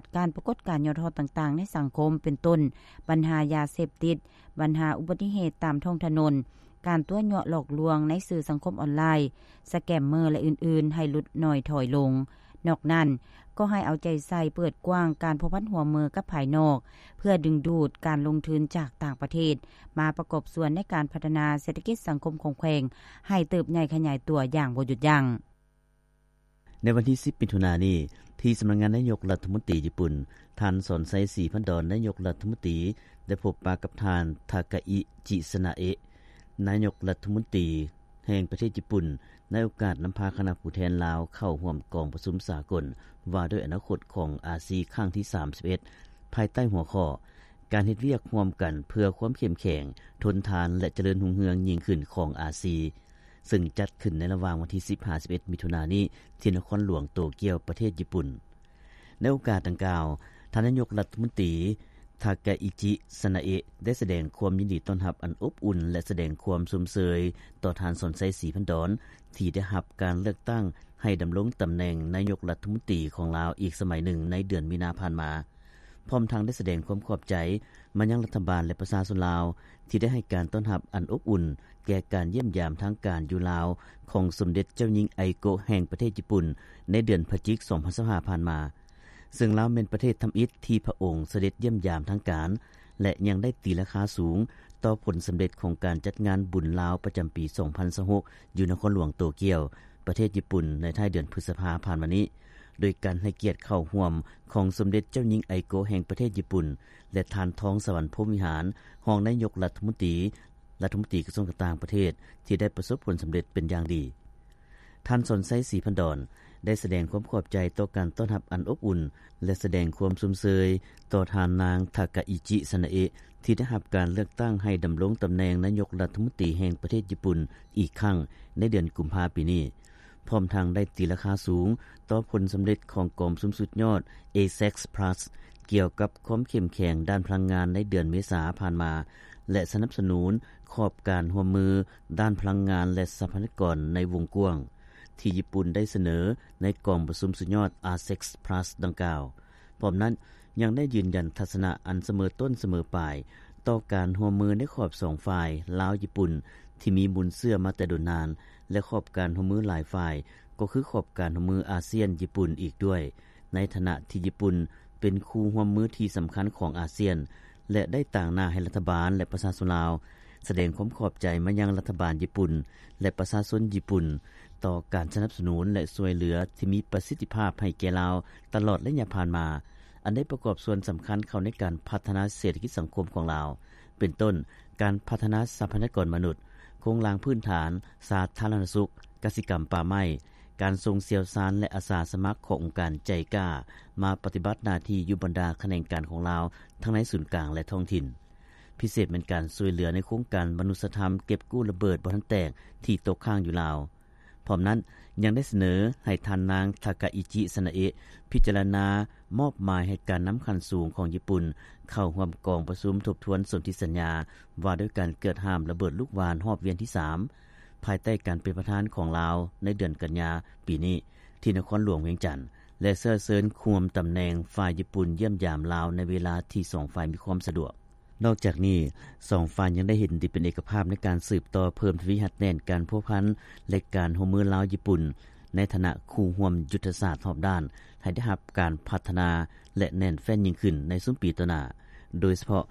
ດການປາກົດການຫຍໍ້ທໍ້ຕ່າງໆໃນສັງຄົມ ເປັນຕົ້ນ ບັນຫາຢາເສບຕິດ, ບັນຫາອຸບັດຕິເຫດຕາມທ້ອງຖະໜົນ, ການຕົວະຍົວະຫຼອກລວງໃນສື່ສັງຄົມອອນລາຍ, ສະແກມເມີ ແລະ ອື່ນໆ ໃຫ້ຫຼຸດໜ້ອຍຖອຍລົງ. ນອກນັ້ນ, ກໍໃຫ້ເອົາໃຈໃສ່ເປີດກວ້າງການພົວພັນຮ່ວມມືກັບພາຍນອກ ເພື່ອດຶງດູດການລົງທຶນຈາກຕ່າງປະເທດ ມາປະກອບສ່ວນໃນການພັດທະນາເສດຖະກິດສັງຄົມຂອງແຂວງ ໃຫ້ເຕີບໃຫຍ່ຂະຫຍາຍຕົວຢ່າງບໍ່ຢຸດຢັ້ງ. ໃນວັນທີສິບ ມິຖຸນານີ້, ທີ່ສຳນັກງານນາຍົກລັດຖະມົນຕີຍີ່ປຸ່ນ, ທ່ານ ສອນໄຊ ສີພັນດອນ, ນາຍົກລັດຖະມົນຕີ ໄດ້ພົບປະກັບທ່ານ ທາກາອິ ຈິ ຊະນາເອະ, ນາຍົກລັດຖະມົນຕີແຫ່ງປະເທດຍີ່ປຸ່ນ, ໃນໂອກາດນຳພາຄະນະຜູ້ແທນລາວເຂົ້າຮ່ວມກອງປະຊຸມສາກົນວ່າດ້ວຍອະນາຄົດຂອງອາຊີຄັ້ງທີສາມສິບເອັດ ພາຍໃຕ້ຫົວຂໍ້ ການເຮັດວຽກຮ່ວມກັນເພື່ອຄວາມເຂັ້ມແຂງ, ທົນທານ ແລະ ຈະເລີນຮຸ່ງເຮືອງຍິ່ງຂຶ້ນຂອງອາຊີ ເຊິ່ງຈັດຂຶ້ນໃນລະຫວ່າງວັນທີສິບຫາສິບເອັດ ມິຖຸນານີ້ ທີ່ນະຄອນຫຼວງໂຕກຽວ ປະເທດຍີ່ປຸ່ນ. ໃນໂອກາດດັ່ງກ່າວ, ທ່ານນາຍົກລັດຖະມົນຕີ ທາກາອິຈິ ຊະນາເອະ ໄດ້ສະແດງຄວາມຍິນດີຕ້ອນຮັບອັນອົບອຸ່ນ ແລະ ສະແດງຄວາມຊົມເຊີຍຕໍ່ທ່ານ ສອນໄຊ ສີພັນດອນ ທີ່ໄດ້ຮັບການເລືອກຕັ້ງໃຫ້ດຳລົງຕຳແໜ່ງນາຍົກລັດຖະມົນຕີຂອງລາວອີກສະໄໝໜຶ່ງໃນເດືອນມີນາຜ່ານມາ. ພ້ອມທັງໄດ້ສະແດງຄວາມຂອບໃຈມາຍັງລັດຖະບານ ແລະ ປະຊາຊົນລາວ ທີ່ໄດ້ໃຫ້ການຕ້ອນຮັບອັນອົບອຸ່ນແກ່ການຢ້ຽມຢາມທາງການຢູ່ລາວຂອງສົມເດັດເຈົ້າຍິງ ໄອໂກະ ແຫ່ງປະເທດຍີ່ປຸ່ນ ໃນເດືອນພະຈິກ ສອງພັນຊາວຫ້າ ຜ່ານມາ, ເຊິ່ງລາວແມ່ນປະເທດທຳອິດທີ່ພະອົງສະເດັດຢ້ຽມຢາມທາງການ ແລະ ຍັງໄດ້ຕີລາຄາສູງຕໍ່ຜົນສຳເລັດຂອງການຈັດງານບຸນລາວປະຈຳປີ ສອງພັນຊາວຫົກ ຢູ່ນະຄອນຫຼວງໂຕກຽວ ປະເທດຍີ່ປຸ່ນ ໃນທ້າຍເດືອນພຶດສະພາຜ່ານມານີ້ ໂດຍການໃຫ້ກຽດເຂົ້າຮ່ວມຂອງສົມເດັດເຈົ້າຍິງ ໄອໂກະ ແຫ່ງປະເທດຍີ່ປຸ່ນ ແລະ ທ່ານ ທອງສະຫວັນ ພົມວິຫານ ຮອງນາຍົກລັດຖະມົນຕີ ລັດຖະມົນຕີກະຊວງການຕ່າງປະເທດ ທີ່ໄດ້ປະສົບຜົນສຳເລັດເປັນຢ່າງດີ. ທ່ານ ສອນໄຊ ສີພັນດອນ ໄດ້ສະແດງຄວາມຂອບໃຈຕໍ່ການຕ້ອນຮັບອັນອົບອຸ່ນ ແລະ ສະແດງຄວາມຊົມເຊີຍຕໍ່ທ່ານນາງ ທາກາອິຈິ ຊະນາເອະ ທີ່ໄດ້ຮັບການເລືອກຕັ້ງໃຫ້ດຳລົງຕຳແໜ່ງນາຍົກລັດຖະມົນຕີແຫ່ງປະເທດຍີ່ປຸ່ນອີກຄັ້ງໃນເດືອນກຸມພາປີນີ້. ພ້ອມທັງໄດ້ຕີລາຄາສູງຕໍ່ຜົນສຳເລັດຂອງກອງປະຊຸມສຸດຍອດ ເອເຊັກ ພລັສ ກ່ຽວກັບຄວາມເຂັ້ມແຂງດ້ານພະລັງງານໃນເດືອນເມສາຜ່ານມາ ແລະ ສະໜັບສະໜູນຂອບການຮ່ວມມືດ້ານພະລັງງານ ແລະ ຊັບພະຍາກອນໃນວົງກວ້າງ ທີ່ຍີ່ປຸ່ນໄດ້ສະເໜີໃນກອງປະຊຸມສຸດຍອດ ເອເຊັກ ພລັສ ດັ່ງກ່າວ. ພ້ອມນັ້ນ ຍັງໄດ້ຢືນຢັນທັດສະນະອັນສະເໝີຕົ້ນສະເໝີປາຍຕໍ່ການຮ່ວມມືໃນຂອບສອງຝ່າຍ ລາວ-ຍີ່ປຸ່ນ ທີ່ມີມູນເຊື້ອມາແຕ່ດົນນານ ແລະ ຂອບການຮ່ວມມືຫຼາຍຝ່າຍ ກໍຄືຂອບການຮ່ວມມືອາຊຽນ-ຍີ່ປຸ່ນອີກດ້ວຍ, ໃນຖານະທີ່ຍີ່ປຸ່ນເປັນຄູ່ຮ່ວມມືທີ່ສຳຄັນຂອງອາຊຽນ ແລະ ໄດ້ຕາງໜ້າໃຫ້ລັດຖະບານ ແລະ ປະຊາຊົນລາວ ສະແດງຄວາມຂອບໃຈມາຍັງລັດຖະບານຍີ່ປຸ່ນ ແລະ ປະຊາຊົນຍີ່ປຸ່ນ ຕໍ່ການສະໜັບສະໜູນ ແລະ ຊ່ວຍເຫຼືອທີ່ມີປະສິດທິພາບໃຫ້ແກ່ລາວຕະຫຼອດໄລຍະຜ່ານມາ, ອັນໄດ້ປະກອບສ່ວນສຳຄັນເຂົ້າໃນການພັດທະນາເສດຖະກິດສັງຄົມຂອງລາວ, ເປັນຕົ້ນ ການພັດທະນາຊັບພະຍາກອນມະນຸດ, ໂຄງລ່າງພື້ນຖານ, ສາທາລະນະສຸກ, ກະສິກຳ, ປ່າໄມ້, ການສົ່ງຊ່ຽວຊານ ແລະ ອາສາສະໝັກຂອງອົງການໄຈກາ ມາປະຕິບັດໜ້າທີ່ຢູ່ບັນດາຂະແໜງການຂອງລາວ ທັງໃນສູນກາງ ແລະ ທ້ອງຖິ່ນ. ພິເສດແມ່ນການຊ່ວຍເຫຼືອໃນໂຄງການມະນຸດສະທຳເກັບກູ້ລະເບີດບໍ່ທັນແຕກທີ່ຕົກຄ້າງຢູ່ລາວ. ພ້ອມນັ້ນ ຍັງໄດ້ສະເໜີໃຫ້ທ່ານນາງ ທາກາອິຈິ ຊະນາເອະ ພິຈາລະນາມອບໝາຍໃຫ້ການນຳຂັ້ນສູງຂອງຍີ່ປຸ່ນເຂົ້າຮ່ວມກອງປະຊຸມທົບທວນສົນທິສັນຍາວ່າດ້ວຍການເກີດຫ້າມລະເບີດລູກຫວ່ານຮອບວຽນທີສາມ ພາຍໃຕ້ການເປັນປະທານຂອງລາວໃນເດືອນກັນຍາປີນີ້ ທີ່ນະຄອນຫຼວງວຽງຈັນ ແລະ ເຊື້ອເຊີນຮ່ວມຕຳແໜ່ງຝ່າຍຍີ່ປຸ່ນຢ້ຽມຢາມລາວໃນເວລາທີ່ສອງຝ່າຍມີຄວາມສະດວກ. ນອກຈາກນີ້, ສອງຝ່າຍຍັງໄດ້ເຫັນດີເປັນເອກະພາບໃນການສືບຕໍ່ເພີ່ມທະວີຮັດແໜ້ນການພົວພັນ ແລະ ການຮ່ວມມືລາວ-ຍີ່ປຸ່ນ ໃນຖານະຄູ່ຮ່ວມຍຸດທະສາດຮອບດ້ານ ໃຫ້ໄດ້ຮັບການພັດທະນາ ແລະ ແໜ້ນແຟ້ນຍິ່ງຂຶ້ນໃນຊຸມປີຕໍ່ໜ້າ, ໂດຍສະເພາະ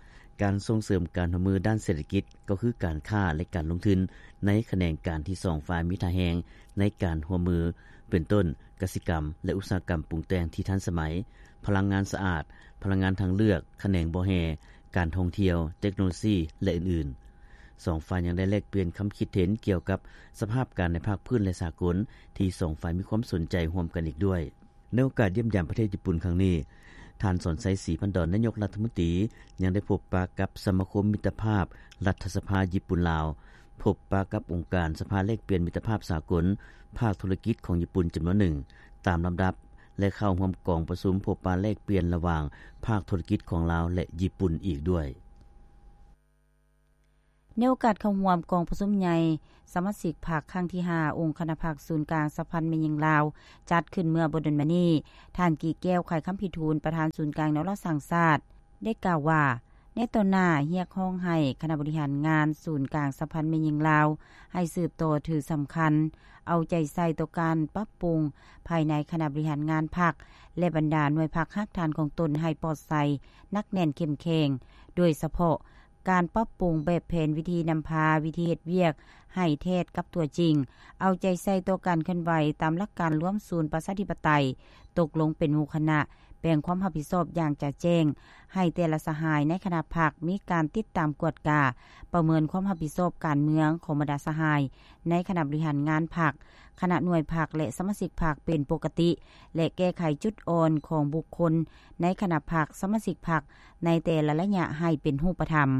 ການສົ່ງເສີມການຮ່ວມມືດ້ານເສດຖະກິດ ກໍຄືການຄ້າ ແລະ ການລົງທຶນ ໃນຂະແໜງການທີ່ສອງຝ່າຍມີທ່າແຮງໃນການຮ່ວມມື ເປັນຕົ້ນ ກະສິກຳ ແລະ ອຸດສາຫະກຳປຸງແຕ່ງທີ່ທັນສະໄໝ, ພະລັງງານສະອາດ, ພະລັງງານທາງເລືອກ, ຂະແໜງບໍ່ແຮ່, ການທ່ອງທ່ຽວ, ເຕັກໂນໂລຊີ ແລະ ອື່ນໆ. ສອງຝ່າຍຍັງໄດ້ແລກປ່ຽນຄຳຄິດເຫັນກ່ຽວກັບສະພາບການໃນພາກພື້ນ ແລະ ສາກົນ ທີ່ສອງຝ່າຍມີຄວາມສົນໃຈຮ່ວມກັນອີກດ້ວຍ. ໃນໂອກາດຢ້ຽມຢາມປະເທດຍີ່ປຸ່ນຄັ້ງນີ້, ທ່ານ ສອນໄຊ ສີພັນດອນ ນາຍົກລັດຖະມົນຕີ ຍັງໄດ້ພົບປະກັບສະມາຄົມມິດຕະພາບລັດຖະສະພາຍີ່ປຸ່ນ-ລາວ, ພົບປະກັບອົງການສະພາແລກປ່ຽນມິດຕະພາບສາກົນ ພາກທຸລະກິດຂອງຍີ່ປຸ່ນຈຳນວນໜຶ່ງຕາມລຳດັບ ແລະ ເຂົ້າຮ່ວມກອງປະຊຸມພົບປະແລກປ່ຽນລະຫວ່າງພາກທຸລະກິດຂອງລາວ ແລະ ຍີ່ປຸ່ນອີກດ້ວຍ. ໃນໂອກາດເຂົ້າຮ່ວມກອງປະຊຸມໃຫຍ່ສະມາຊິກພັກຄັ້ງທີຫ້າ ອົງຄະນະພັກສູນກາງສະຫະພັນແມ່ຍິງລາວ ຈັດຂຶ້ນເມື່ອບໍ່ດົນມານີ້, ທ່ານ ກີແກ້ວ ໄຂຄຳພິທູນ ປະທານສູນກາງແນວລາວສ້າງຊາດ ໄດ້ກ່າວວ່າ ໃນຕໍ່ໜ້າຮຽກຮ້ອງໃຫ້ຄະນະບໍລິຫານງານສູນກາງສະຫະພັນແມ່ຍິງລາວ ໃຫ້ສືບຕໍ່ຖືສຳຄັນ ເອົາໃຈໃສ່ຕໍ່ການປັບປຸງພາຍໃນຄະນະບໍລິຫານງານພັກ ແລະ ບັນດາໜ່ວຍພັກຮາກຖານຂອງຕົນໃຫ້ປອດໃສ, ໜັກແໜ້ນ, ເຂັ້ມແຂງ, ໂດຍສະເພາະ ການປັບປຸງແບບແຜນ, ວິທີນຳພາ, ວິທີເຮັດວຽກໃຫ້ແທດກັບຕົວຈິງ, ເອົາໃຈໃສ່ຕໍ່ການເຄື່ອນໄຫວຕາມຫຼັກການລວມສູນປະຊາທິປະໄຕ, ຕົກລົງເປັນໝູ່ຄະນະ, ແບ່ງຄວາມຮັບຜິດຊອບຢ່າງຈະແຈ້ງ, ໃຫ້ແຕ່ລະສະຫາຍໃນຄະນະພັກມີການຕິດຕາມກວດກາ, ປະເມີນຄວາມຮັບຜິດຊອບການເມືອງຂອງບັນດາສະຫາຍໃນຄະນະບໍລິຫານງານພັກ, ຄະນະໜ່ວຍພັກ ແລະ ສະມາຊິກພັກເປັນປົກກະຕິ ແລະ ແກ້ໄຂຈຸດອ່ອນຂອງບຸກຄົນໃນຄະນະພັກ, ສະມາຊິກພັກ ໃນແຕ່ລະໄລຍະໃຫ້ເປັນຮູບປະທຳ.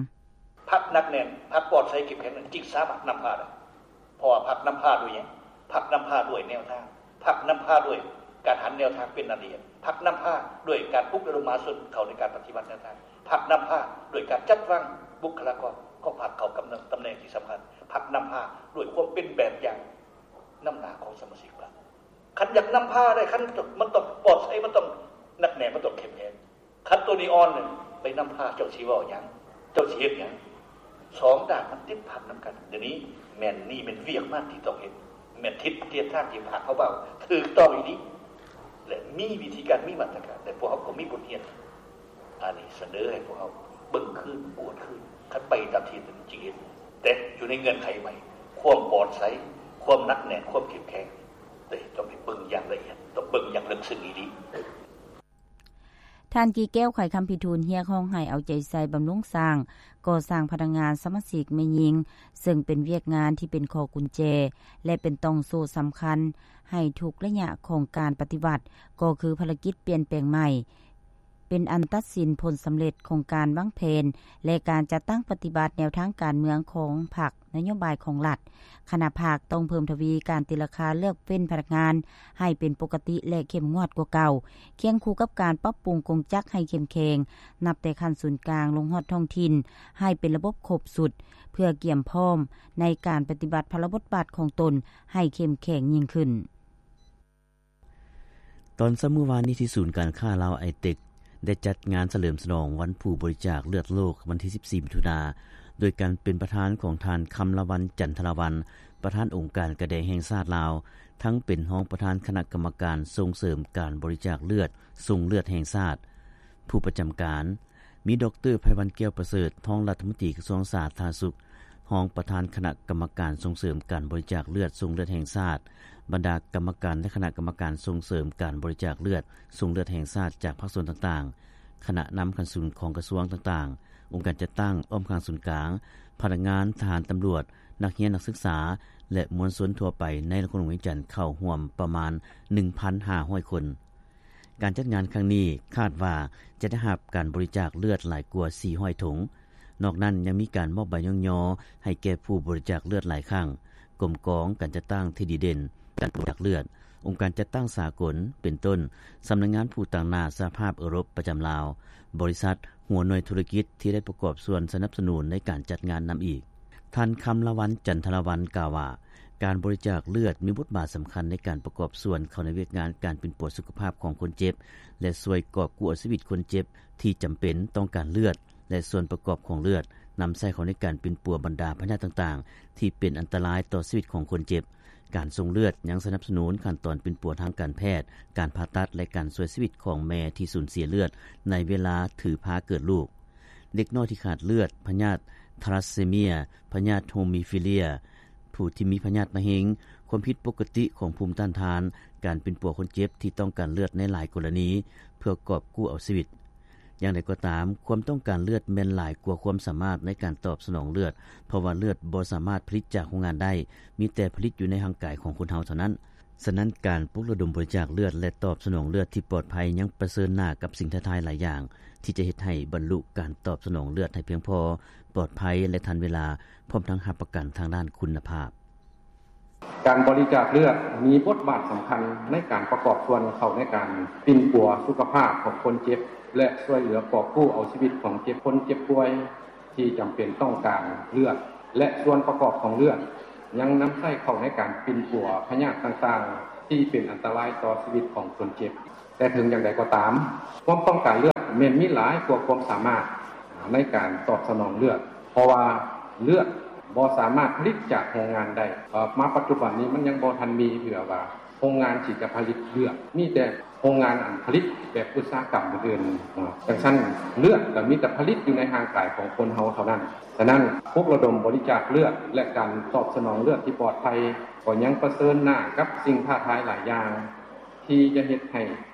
ພັກໜັກແໜ້ນ, ພັກປອດໃສເຂັ້ມແຂງນັ້ນຈຶ່ງສາມາດນຳພາໄດ້. ເພາະວ່າພັກນຳພາດ້ວຍຫຍັງ? ພັກນຳພາດ້ວຍແນວທາງ, ພັກນຳພາດ້ວຍການຫັນແນວທາງເປັນລະອຽດ, ພັກນຳພາດ້ວຍການປຸກລະດົມມະຫາຊົນເຂົ້າໃນການປະຕິບັດແນວທາງ, ພັກນຳພາດ້ວຍການຈັດວາງບຸກຄະລາກອນຂອງພັກເຂົ້າກັບຕຳແໜ່ງທີ່ສຳຄັນ, ພັກນຳພາດ້ວຍຄວາມເປັນແບບຢ່າງນຳໜ້າຂອງສະມາຊິກພັກ. ຄັນຢາກນຳພາໄດ້, ຄັນມັນຕ້ອງປອດໃສ, ມັນຕ້ອງໜັກແໜ້ນ, ມັນຕ້ອງເຂັ້ມແຂງ. ຄັນໂຕນີ້ອ່ອນ, ໄປນຳພາເຈົ້າຊິເວົ້າຫຍັງ? ເຈົ້າຊິເຮັດຫຍັງ? ສອງດ້ານມັນຕິດພັນນຳກັນ. ດຽວນີ້ແມ່ນ, ນີ້ແມ່ນວຽກງານທີ່ຕ້ອງເຮັດ, ແມ່ນທິດທາງທີ່ພາກເຮົາເວົ້າຖືກຕ້ອງອີ່ຫຼີ ແລະ ມີວິທີການ, ມີມາດຕະການ, ແລະ ພວກເຮົາກໍມີບົດຮຽນ. ອັນນີ້ສະເໜີໃຫ້ພວກເຮົາເບິ່ງຄືນ, ກວດຄືນ, ຄັນໄປຕາມທີ່ມັນຈິງເຫັນ, ແຕ່ຢູ່ໃນເງື່ອນໄຂໃໝ່, ຄວາມປອດໃສ, ຄວາມໜັກແໜ້ນ, ຄວາມເຂັ້ມແຂງ, ແຕ່ຕ້ອງໄປເບິ່ງຢ່າງລະອຽດ, ຕ້ອງເບິ່ງຢ່າງເລິກເຊິ່ງອີ່ຫຼີ. ທ່ານ ກີແກ້ວ ໄຂຄຳພິທູນ ຮຽກຮ້ອງໃຫ້ເອົາໃຈໃສ່ບຳລຸງສ້າງ, ກໍ່ສ້າງພະນັກງານ, ສະມາຊິກແມ່ຍິງ, ເຊິ່ງເປັນວຽກງານທີ່ເປັນຂໍ້ກຸນແຈ ແລະ ເປັນຕ່ອງໂສ້ສຳຄັນໃຫ້ທຸກໄລຍະຂອງການປະຕິວັດ, ກໍຄືພາລະກິດປ່ຽນແປງໃໝ່ ເປັນອັນຕັດສິນຜົນສຳເລັດຂອງການວາງແຜນ ແລະ ການຈັດຕັ້ງປະຕິບັດແນວທາງການເມືອງຂອງພັກ, ນະໂຍບາຍຂອງລັດ. ຄະນະພັກຕ້ອງເພີ່ມທະວີການຕີລາຄາເລືອກເວັ້ນພະນັກງານໃຫ້ເປັນປົກກະຕິ ແລະ ເຂັ້ມງວດກວ່າເກົ່າ, ຄຽງຄູ່ກັບການປັບປຸງກົງຈັກໃຫ້ເຂັ້ມແຂງ, ນັບແຕ່ຂັ້ນສູນກາງລົງຮອດທ້ອງຖິ່ນ, ໃຫ້ເປັນລະບົບຄົບຊຸດ, ເພື່ອກຽມພ້ອມໃນການປະຕິບັດພາລະບົດບາດຂອງຕົນໃຫ້ເຂັ້ມແຂງຍິ່ງຂຶ້ນ. ຕອນເຊົ້າມື້ວານນີ້ ທີ່ສູນການຄ້າລາວໄອເຕັກ ໄດ້ຈັດງານສະເຫຼີມສະຫຼອງວັນຜູ້ບໍລິຈາກເລືອດໂລກ ວັນທີສິບສີ່ ມິຖຸນາ ໂດຍການເປັນປະທານຂອງທ່ານ ຄຳລະວັນ ຈັນທະລາວັນ ປະທານອົງການກາແດງແຫ່ງຊາດລາວ, ທັງເປັນຮອງປະທານຄະນະກຳມະການສົ່ງເສີມການບໍລິຈາກເລືອດ ຊົງເລືອດແຫ່ງຊາດ. ຜູ້ປະຈຳການ ມີ ດອກເຕີ ໄພວັນ ແກ້ວປະເສີດ ຮອງລັດຖະມົນຕີກະຊວງສາທາລະນະສຸກ, ຮອງປະທານຄະນະກຳມະການສົ່ງເສີມການບໍລິຈາກເລືອດ ຊົງເລືອດແຫ່ງຊາດ, ບັນດາກຳມະການ ແລະ ຄະນະກຳມະການສົ່ງເສີມການບໍລິຈາກເລືອດ ຊົງເລືອດແຫ່ງຊາດ ຈາກພາກສ່ວນຕ່າງໆ, ຄະນະນຳຂັ້ນສູງຂອງກະຊວງຕ່າງໆ, ອົງການຈັດຕັ້ງອ້ອມຂ້າງສູນກາງ, ພະນັກງານ, ທະຫານ, ຕຳຫຼວດ, ນັກຮຽນ, ນັກສຶກສາ ແລະ ມວນຊົນທົ່ວໄປໃນນະຄອນຫຼວງວຽງຈັນ ເຂົ້າຮ່ວມປະມານ ໜຶ່ງພັນຫ້າຮ້ອຍຄົນ. ການຈັດງານຄັ້ງນີ້ຄາດວ່າຈະໄດ້ຮັບການບໍລິຈາກເລືອດຫຼາຍກວ່າສີ່ຮ້ອຍຖົງ. ນອກນັ້ນຍັງມີການມອບໃບຍ້ອງຍໍໃຫ້ແກ່ຜູ້ບໍລິຈາກເລືອດຫຼາຍຄັ້ງ, ກົມກອງການຈັດຕັ້ງທີ່ດີເດັ່ນການບໍລິຈາກເລືອດ, ອົງການຈັດຕັ້ງສາກົນ ເປັນຕົ້ນ ສຳນັກງານຜູ້ຕາງໜ້າສະຫະພາບເອີຣົບປະຈຳລາວ, ບໍລິສັດ, ຫົວໜ່ວຍທຸລະກິດທີ່ໄດ້ປະກອບສ່ວນສະໜັບສະໜູນໃນການຈັດງານນຳອີກ. ທ່ານ ຄຳລະວັນ ຈັນທະລາວັນ ກ່າວວ່າ ການບໍລິຈາກເລືອດມີບົດບາດສຳຄັນໃນການປະກອບສ່ວນເຂົ້າໃນວຽກງານການປິ່ນປົວສຸຂະພາບຂອງຄົນເຈັບ ແລະ ຊ່ວຍກອບກູ້ເອົາຊີວິດຄົນເຈັບທີ່ຈຳເປັນຕ້ອງການເລືອດ ແລະ ສ່ວນປະກອບຂອງເລືອດ ນຳໃຊ້ເຂົ້າໃນການປິ່ນປົວບັນດາພະຍາດຕ່າງໆ ທີ່ເປັນອັນຕະລາຍຕໍ່ຊີວິດຂອງຄົນເຈັບ. ການສົ່ງເລືອດຍັງສະໜັບສະໜູນຂັ້ນຕອນປິ່ນປົວທາງການແພດ, ການຜ່າຕັດ ແລະ ການຊ່ວຍຊີວິດຂອງແມ່ທີ່ສູນເສຍເລືອດໃນເວລາຖືພາເກີດລູກ. ເດັກນ້ອຍທີ່ຂາດເລືອດ, ພະຍາດທາລາສເຊເມຍ, ພະຍາດໂຮມີຟີເລຍ, ຜູ້ທີ່ມີພະຍາດມະເຮັງ, ຄວາມຜິດປົກກະຕິຂອງພູມຕ້ານທານ, ການປິ່ນປົວຄົນເຈັບທີ່ຕ້ອງການເລືອດໃນຫຼາຍກໍລະນີ ເພື່ອກອບກູ້ເອົາຊີວິດ. ຢ່າງໃດກໍຕາມ, ຄວາມຕ້ອງການເລືອດແມ່ນຫຼາຍກວ່າຄວາມສາມາດໃນການຕອບສະໜອງເລືອດ, ເພາະວ່າເລືອດບໍ່ສາມາດຜະລິດຈາກໂຮງງານໄດ້, ມີແຕ່ຜະລິດຢູ່ໃນຮ່າງກາຍຂອງຄົນເຮົາເທົ່ານັ້ນ. ສະນັ້ນ, ການປຸກລະດົມບໍລິຈາກເລືອດ ແລະ ຕອບສະໜອງເລືອດທີ່ປອດໄພ ຍັງປະເຊີນໜ້າກັບສິ່ງທ້າທາຍຫຼາຍຢ່າງ ທີ່ຈະເຮັດໃຫ້ບັນລຸການຕອບສະໜອງເລືອດໃຫ້ພຽງພໍ, ປອດໄພ ແລະ ທັນເວລາ, ພ້ອມທັງຮັບປະກັນທາງດ້ານຄຸນນະພາບ. ການບໍລິຈາກເລືອດມີບົດບາດສຳຄັນໃນການປະກອບສ່ວນເຂົ້າໃນການປິ່ນປົວສຸຂະພາບຂອງຄົນເຈັບ ແລະ ຊ່ວຍເຫຼືອກອບກູ້ເອົາຊີວິດຂອງເຈັບ, ຄົນເຈັບປ່ວຍທີ່ຈຳເປັນຕ້ອງການເລືອດ. ແລະສ່ວນປະກອບຂອງເລືອດ ຍັງນຳໃຊ້ເຂົ້າໃນການປິ່ນປົວພະຍາດຕ່າງໆ ທີ່ເປັນອັນຕະລາຍຕໍ່ຊີວິດຂອງຄົນເຈັບ. ແຕ່ເຖິງຢ່າງໃດກໍຕາມ, ຄວາມຕ້ອງການເລືອດແມ່ນມີຫຼາຍກວ່າຄວາມສາມາດໃນການຕອບສະໜອງເລືອດ, ເພາະວ່າເລືອດບໍ່ສາມາດຜະລິດຈາກໂຮງງານໄດ້. ເອີ່ ມາປັດຈຸບັນນີ້ມັນຍັງບໍ່ທັນມີເທື່ອວ່າໂຮງງານທີ່ຈະຜະລິດເລືອດ, ມີແຕ່ໂຮງງານອັນຜະລິດແບບອຸດສາຫະກຳອື່ນໆ. ຈັ່ງຊັ້ນເລືອດກໍມີແຕ່ຜະລິດຢູ່ໃນຮ່າງກາຍຂອງຄົນເຮົາເທົ່ານັ້ນ. ສະນັ້ນ ປຸກລະດົມບໍລິຈາກເລືອດ ແລະ ການຕອບສະໜອງເລືອດທີ່ປອດໄພ ກໍຍັງປະເຊີນໜ້າກັບສິ່ງທ້າທາຍຫຼາຍຢ່າງ ທີ່ຈະເຮັດໃຫ້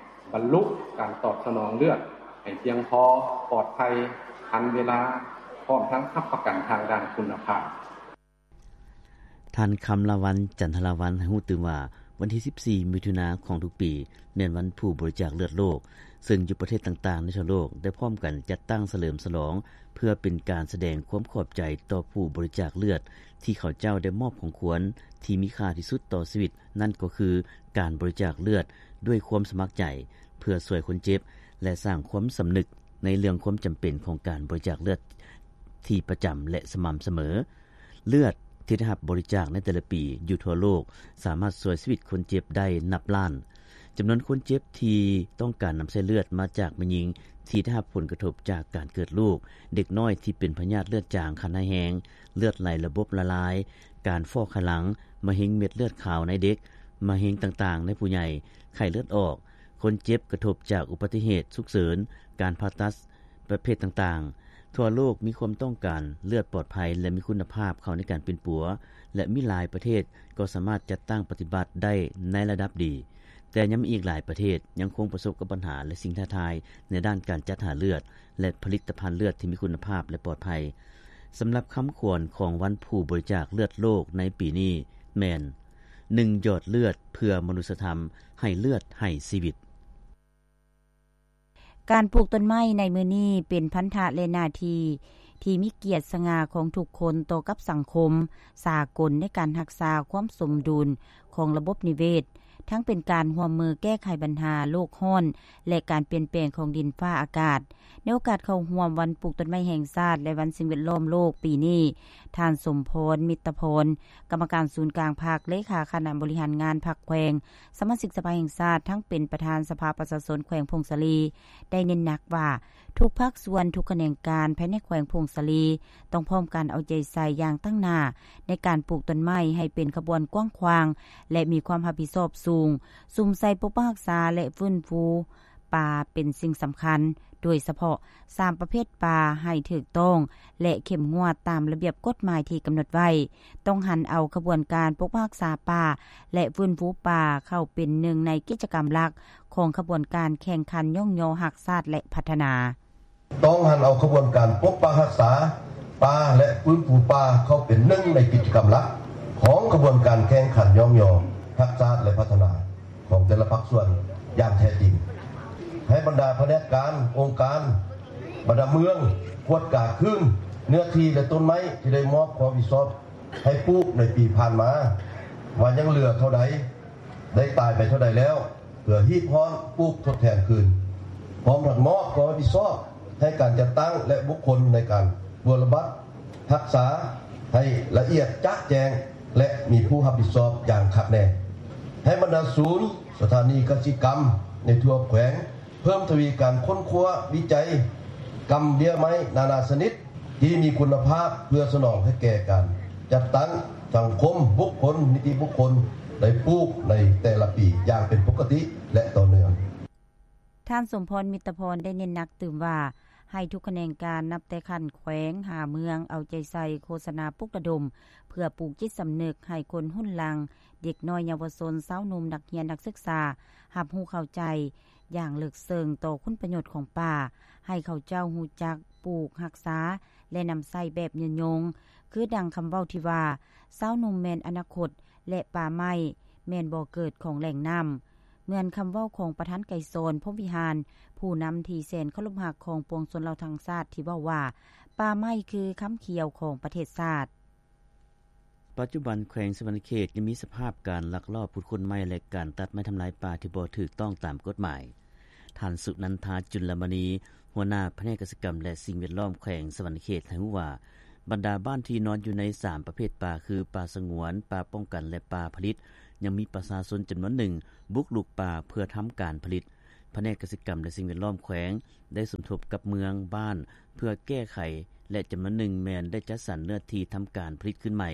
ບັນລຸການຕອບສະໜອງເລືອດໃຫ້ພຽງພໍ, ປອດໄພ, ທັນເວລາ, ພ້ອມທັງຮັບປະກັນທາງດ້ານຄຸນນະພາບ. ທ່ານ ຄຳລາວັນ ຈັນທະລາວັນ ໃຫ້ຮູ້ຕື່ມວ່າ ວັນທີສິບສີ່ ມິຖຸນາຂອງທຸກປີ ແມ່ນວັນຜູ້ບໍລິຈາກເລືອດໂລກ, ເຊິ່ງຢູ່ປະເທດຕ່າງໆໃນທົ່ວໂລກ ໄດ້ພ້ອມກັນຈັດຕັ້ງສະເຫຼີມສະຫຼອງ ເພື່ອເປັນການສະແດງຄວາມຂອບໃຈຕໍ່ຜູ້ບໍລິຈາກເລືອດ ທີ່ເຂົາເຈົ້າໄດ້ມອບຂອງຂວັນທີ່ມີຄ່າທີ່ສຸດຕໍ່ຊີວິດ ນັ້ນກໍຄືການບໍລິຈາກເລືອດດ້ວຍຄວາມສະໝັກໃຈ ເພື່ອຊ່ວຍຄົນເຈັບ ແລະ ສ້າງຄວາມສຳນຶກໃນເລື່ອງຄວາມຈຳເປັນຂອງການບໍລິຈາກເລືອດທີ່ປະຈຳ ແລະ ສະໝ່ຳສະເໝີ. ເລືອດທີ່ໄດ້ຮັບບໍລິຈາກໃນແຕ່ລະປີຢູ່ທົ່ວໂລກ ສາມາດຊ່ວຍຊີວິດຄົນເຈັບໄດ້ນັບລ້ານ. ຈຳນວນຄົນເຈັບທີ່ຕ້ອງການນຳໃຊ້ເລືອດມາຈາກແມ່ຍິງທີ່ໄດ້ຮັບຜົນກະທົບຈາກການເກີດລູກ, ເດັກນ້ອຍທີ່ເປັນພະຍາດເລືອດຈາງຂັ້ນຮ້າຍແຮງ, ເລືອດໄຫຼລະບົບລະລາຍ, ການຟອກໄຂຫຼັງ, ມະເຮັງເມັດເລືອດຂາວໃນເດັກ, ມະເຮັງຕ່າງໆໃນຜູ້ໃຫຍ່, ໄຂ້ເລືອດອອກ, ຄົນເຈັບກະທົບຈາກອຸບັດຕິເຫດສຸກເສີນ, ການຜ່າຕັດປະເພດຕ່າງໆ. ທົ່ວໂລກມີຄວາມຕ້ອງການເລືອດປອດໄພ ແລະ ມີຄຸນນະພາບເຂົ້າໃນການປິ່ນປົວ ແລະ ມີຫຼາຍປະເທດກໍສາມາດຈັດຕັ້ງປະຕິບັດໄດ້ໃນລະດັບດີ, ແຕ່ຍັງມີອີກຫຼາຍປະເທດຍັງຄົງປະສົບກັບບັນຫາ ແລະ ສິ່ງທ້າທາຍໃນດ້ານການຈັດຫາເລືອດ ແລະ ຜະລິດຕະພັນເລືອດທີ່ມີຄຸນນະພາບ ແລະ ປອດໄພ. ສຳລັບຄຳຂວັນຂອງວັນຜູ້ບໍລິຈາກເລືອດໂລກໃນປີນີ້ແມ່ນ ໜຶ່ງ ຢອດເລືອດເພື່ອມະນຸດສະທຳ, ໃຫ້ເລືອດໃຫ້ຊີວິດ. ການປູກຕົ້ນໄມ້ໃນມື້ນີ້ເປັນພັນທະ ແລະ ໜ້າທີ່ທີ່ມີກຽດສະຫງ່າຂອງທຸກຄົນຕໍ່ກັບສັງຄົມສາກົນ ໃນການຮັກສາຄວາມສົມດຸນຂອງລະບົບນິເວດ, ທັງເປັນການຮ່ວມມືແກ້ໄຂບັນຫາໂລກຮ້ອນ ແລະ ການປ່ຽນແປງຂອງດິນຟ້າອາກາດ. ໃນໂອກາດເຂົ້າຮ່ວມວັນປູກຕົ້ນໄມ້ແຫ່ງຊາດ ແລະ ວັນສິ່ງແວດລ້ອມໂລກປີນີ້, ທ່ານ ສົມພອນ ມິດຕະພອນ ກຳມະການສູນກາງພັກ, ເລຂາຄະນະບໍລິຫານງານພັກແຂວງ, ສະມາຊິກສະພາແຫ່ງຊາດ, ທັງເປັນປະທານສະພາປະຊາຊົນແຂວງຜົ້ງສາລີ ໄດ້ເນັ້ນໜັກວ່າ ທຸກພາກສ່ວນ, ທຸກຂະແໜງການພາຍໃນແຂວງຜົ້ງສາລີ ຕ້ອງພ້ອມກັນເອົາໃຈໃສ່ຢ່າງຕັ້ງໜ້າ ໃນການປູກຕົ້ນໄມ້ໃຫ້ເປັນຂະບວນກວ້າງຂວາງ ແລະ ມີຄວາມຮັບຜິດຊອບສູງ, ສຸມໃສ່ປົກປັກຮັກສາ ແລະ ຟື້ນຟູ ປາເປັນສິ່ງສຳຄັນ, ໂດຍສະເພາະສາມປະເພດປາ ໃຫ້ຖືກຕ້ອງ ແລະ ເຂັ້ມງວດຕາມລະບຽບກົດໝາຍທີ່ກຳນົດໄວ້, ຕ້ອງຫັນເອົາຂະບວນການປົກປັກຮັກສາປ່າ ແລະ ຟື້ນຟູປ່າ ເຂົ້າເປັນໜຶ່ງໃນກິດຈະກຳຫຼັກຂອງຂະບວນການແຂ່ງຂັນຍ້ອງຍໍຮັກຊາດ ແລະ ພັດທະນາ. ຕ້ອງຫັນເອົາຂະບວນການປົກປັກຮັກສາປ່າ ແລະ ຟື້ນຟູປ່າ ເຂົ້າເປັນໜຶ່ງໃນກິດຈະກຳຫຼັກຂອງຂະບວນການແຂ່ງຂັນຍ້ອງຍໍຮັກຊາດ ແລະ ພັດທະນາ ຂອງແຕ່ລະພາກສ່ວນຢ່າງແທ້ຈິງ. ໃຫ້ບັນດາພະແນກການ, ອົງການ, ບັນດາເມືອງ ກວດກາຄືນເນື້ອທີ່ ແລະ ຕົ້ນໄມ້ທີ່ໄດ້ມອບຄວາມຮັບຜິດຊອບໃຫ້ປູກໃນປີຜ່ານມາ ວ່າຍັງເຫຼືອເທົ່າໃດ, ໄດ້ຕາຍໄປເທົ່າໃດແລ້ວ, ເພື່ອຮີບຮ້ອນປູກທົດແທນຄືນ, ພ້ອມທັງມອບຄວາມຮັບຜິດຊອບໃຫ້ການຈັດຕັ້ງ ແລະ ບຸກຄົນໃນການບົວລະບັດຮັກສາໃຫ້ລະອຽດຈະແຈ້ງ ແລະ ມີຜູ້ຮັບຜິດຊອບຢ່າງຄັກແນ່. ໃຫ້ບັນດາສູນ, ສະຖານີກະສິກຳໃນທົ່ວແຂວງ ເພີ່ມທະວີການຄົ້ນຄວ້າ, ວິໄຈ, ກຳເບ້ຍໄມ້ນານາຊະນິດທີ່ມີຄຸນນະພາບ ເພື່ອສະໜອງໃຫ້ແກ່ການຈັດຕັ້ງສັງຄົມ, ບຸກຄົນ, ນິຕິບຸກຄົນ ໄດ້ປູກໃນແຕ່ລະປີຢ່າງເປັນປົກກະຕິ ແລະ ຕໍ່ເນື່ອງ. ທ່ານ ສົມພອນ ມິດຕະພອນ ໄດ້ເນັ້ນໜັກຕື່ມວ່າ ໃຫ້ທຸກຂະແໜງການ ນັບແຕ່ຂັ້ນແຂວງຫາເມືອງ ເອົາໃຈໃສ່ໂຄສະນາປຸກລະດົມ ເພື່ອປູກຈິດສຳນຶກໃຫ້ຄົນຮຸ່ນຫຼັງ, ເດັກນ້ອຍເຍົາວະຊົນ, ຊາວໜຸ່ມ, ນັກຮຽນ, ນັກສຶກສາ ຮັບຮູ້ເຂົ້າໃຈຢ່າງເລິກເຊິ່ງຕໍ່ຄຸນປະໂຫຍດຂອງປ່າ, ໃຫ້ເຂົາເຈົ້າຮູ້ຈັກປູກ, ຮັກສາ ແລະ ນຳໃຊ້ແບບຍືນຍົງ, ຄືດັ່ງຄຳເວົ້າທີ່ວ່າ ຊາວໜຸ່ມແມ່ນອະນາຄົດ ແລະ ປ່າໄມ້ແມ່ນບໍ່ເກີດຂອງແຫຼ່ງນ້ຳ. ເໝືອນຄຳເວົ້າຂອງປະທານໄກສອນ ພົມວິຫານ, ຜູ້ນຳທີ່ແສນເຄົາລົບຮັກຂອງປວງຊົນລາວທັງຊາດ ທີ່ເວົ້າວ່າ ປ່າໄມ້ຄືຄຳຂຽວຂອງປະເທດຊາດ. ປັດຈຸບັນແຂວງສະຫວັນນະເຂດຍັງມີສະພາບການລັກລອບຂຸດຄົ້ນໄມ້ ແລະ ການຕັດໄມ້ທຳລາຍປ່າທີ່ບໍ່ຖືກຕ້ອງຕາມກົດໝາຍ. ທ່ານ ສຸນັນທາ ຈຸນລະມະນີ ຫົວໜ້າພະແນກກະສິກຳ ແລະ ສິ່ງແວດລ້ອມແຂວງສະຫວັນນະເຂດ ໃຫ້ຮູ້ວ່າ ບັນດາບ້ານທີ່ນອນຢູ່ໃນສາມປະເພດປ່າ ຄື ປ່າສະຫງວນ, ປ່າປ້ອງກັນ ແລະ ປ່າຜະລິດ ຍັງມີປະຊາຊົນຈຳນວນໜຶ່ງບຸກລຸກປ່າເພື່ອທຳການຜະລິດ. ພະແນກກະສິກຳ ແລະ ສິ່ງແວດລ້ອມແຂວງ ໄດ້ສົມທົບກັບເມືອງ, ບ້ານ ເພື່ອແກ້ໄຂ ແລະ ຈຳນວນໜຶ່ງແມ່ນໄດ້ຈັດສັນເນື້ອທີ່ທຳການຜະລິດຂຶ້ນໃໝ່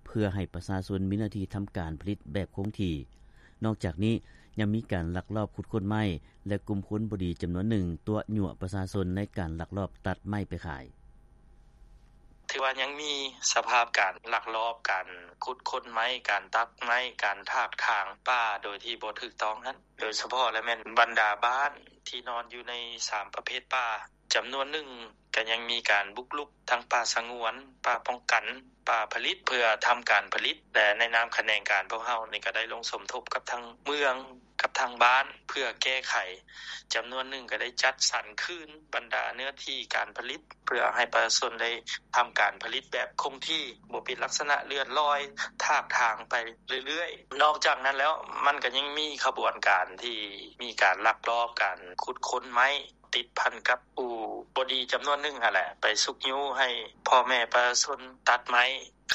ເພື່ອໃຫ້ປະຊາຊົນມີເນື້ອທີ່ທຳການຜະລິດແບບຄົງທີ່. ນອກຈາກນີ້ ຍັງມີການລັກລອບຂຸດຄົ້ນໄມ້ ແລະ ກຸ່ມຄົນບໍ່ດີຈຳນວນໜຶ່ງຕົວະຍົວະປະຊາຊົນໃນການລັກລອບຕັດໄມ້ໄປຂາຍ. ຖືວ່າຍັງມີສະພາບການລັກລອບ ການຂຸດຄົ້ນໄມ້, ການຕັດໄມ້, ການຖາກຖາງປ່າໂດຍທີ່ບໍ່ຖືກຕ້ອງຫັ້ນ ໂດຍສະເພາະແລ້ວແມ່ນບັນດາບ້ານທີ່ນອນຢູ່ໃນສາມປະເພດປ່າ ຈຳນວນໜຶ່ງກໍຍັງມີການບຸກລຸກທັງປ່າສະຫງວນ, ປ່າປ້ອງກັນ, ປ່າຜະລິດ ເພື່ອທຳການຜະລິດ ແລະ ໃນນາມຂະແໜງການພວກເຮົານີ້ກໍໄດ້ລົງສົມທົບກັບທາງເມືອງ ກັບທາງບ້ານເພື່ອແກ້ໄຂ. ຈຳນວນໜຶ່ງກໍໄດ້ຈັດສັນຄືນບັນດາເນື້ອທີ່ການຜະລິດ ເພື່ອໃຫ້ປະຊາຊົນໄດ້ທຳການຜະລິດແບບຄົງທີ່, ບໍ່ເປັນລັກສະນະເລື່ອນລອຍ, ຖາກຖາງໄປເລື້ອຍໆ. ນອກຈາກນັ້ນແລ້ວ ມັນກໍຍັງມີຂະບວນການທີ່ມີການລັກລອບການຂຸດຄົ້ນໄມ້ ຕິດພັນກັບຜູ້ບໍ່ດີຈຳນວນໜຶ່ງຫັ້ນແຫຼະ ໄປຊຸກຍູ້ໃຫ້ພໍ່ແມ່ປະຊາຊົນຕັດໄມ້